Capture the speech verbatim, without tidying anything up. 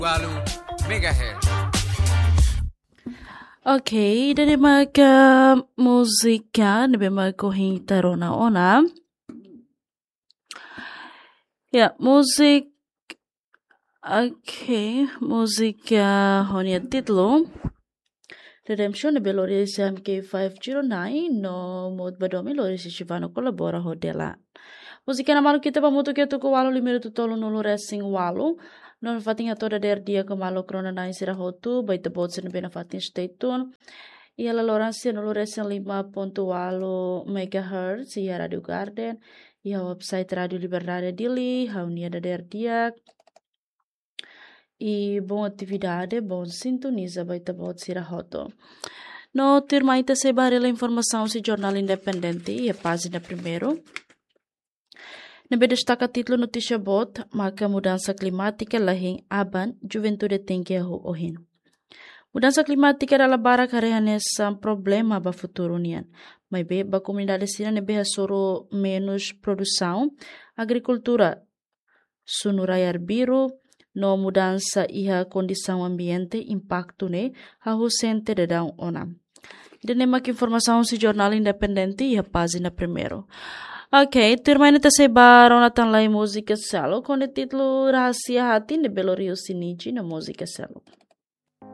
Walu megahertz. Ok, ida-ne'e maka múzika ne'ebé mak ohin ita rona ona. Ya, múzika. Ok, múzika ho nia títulu Redemption ne'ebé lori husi M K five zero nine no Mot Badomi lori husi Shivano kolabora ho Dela. Múzika ne'e maluk ita ba hamutuk iha tuku ualu lima rua tolu nulu resin ualu. No fatin hato'o dadeer di'ak ba maluk rona-na'in sira hotu, ba ita-boot sira ne'ebé nafatin stay tune iha laloran sianulu resin lima pontu ualu megahertz iha Rádio Garden, iha website Rádio Liberdade Dili, ha'u-nia dadeer di'ak. I bom atividade, bom sintoniza ba ita-boot sira hotu. No tuirmai ita sei ba haree informasaun husi Jornál Independente iha pájina primeiru, ne'ebé destaka títulu notísia boot maka mudansa klimátika la hein aban, juventude tenke hahú ohin. Mudansa klimátika dala barak haree hanesan problema ba futuru nian. Maibé ba komunidade sira ne'ebé hasoru menus produsaun, agrikultura, sunu rai arbiru, no mudansa iha kondisaun ambiente, impaktu ne'e hahú sente daudaun ona. Ida-ne'e mak informasaun husi Jornál Independente iha pájina primeiru. Ok, tuirmai ita sei ba rona tan lai múzika seluk ho nia títulu Rahasia Hati ne'ebé lori husi Niji no múzika seluk.